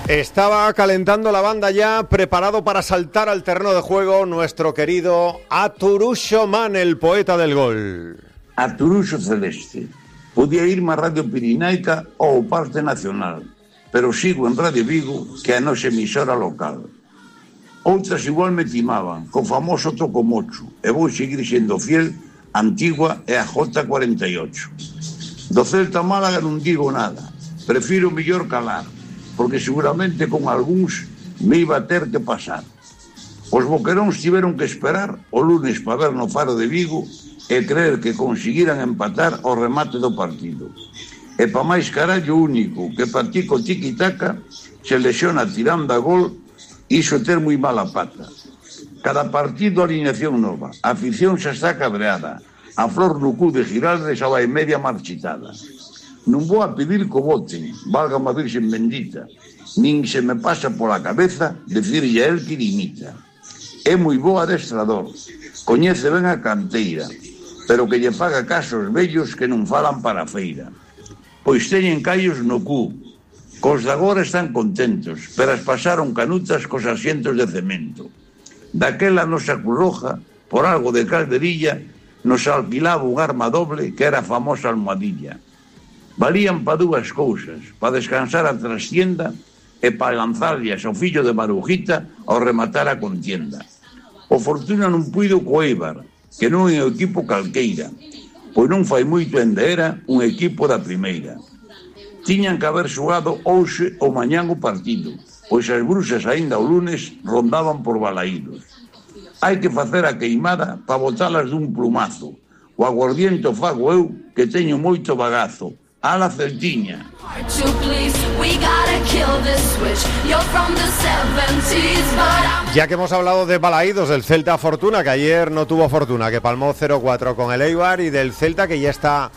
Estaba calentando la banda ya, preparado para saltar al terreno de juego nuestro querido Aturuxo Man, el poeta del gol. Aturuxo Celeste. Podía irme a Radio Pirinaica ou ao Parque Nacional, pero sigo en Radio Vigo, que é a nosa emisora local. Outras igual me timaban, co famoso Tocomocho, e vou seguir sendo fiel, Antigua e a J48. Do Celta Málaga non digo nada, prefiro mellor calar, porque seguramente con algúns me iba a ter que pasar. Os boqueróns tiveron que esperar o lunes para ver no Faro de Vigo e creer que conseguiran empatar ao remate do partido. E pa máis carallo único que practica o tiki-taka se lesiona tirando a gol, iso ter moi mala pata. Cada partido alineación nova, a afición xa está cabreada, a flor no cu de Giraldes xa vai media marchitada. Non vou a pedir que o voten, valga a Virxen bendita, nin se me pasa pola cabeza decirlle a él que limita. É moi bo adestrador, coñece ben a canteira, pero que lle faga caso aos vellos que non falan para a feira. Pois teñen callos no cu, cos de agora están contentos, pero as pasaron canutas cos asientos de cemento. Daquela nosa Curroja, por algo de calderilla, nos alquilaba un arma doble que era a famosa almohadilla. Valían pa dúas cousas, pa descansar a trastienda e pa lanzarllas ao fillo de Marujita ao rematar a contienda. O Fortuna non puido co Eibar, que non é un equipo calqueira, pois non fai moito ende era un equipo da primeira. Tiñan que haber xogado hoxe ou mañán o partido, pois as bruxas aínda o lunes rondaban por Balaídos. Hai que facer a queimada pa botalas dun plumazo. O aguardiente fago eu, que teño moito bagazo. A la Celtiña. Ya que hemos hablado de Balaídos, del Celta Fortuna, que ayer no tuvo fortuna, que palmó 0-4 con el Eibar, y del Celta que ya está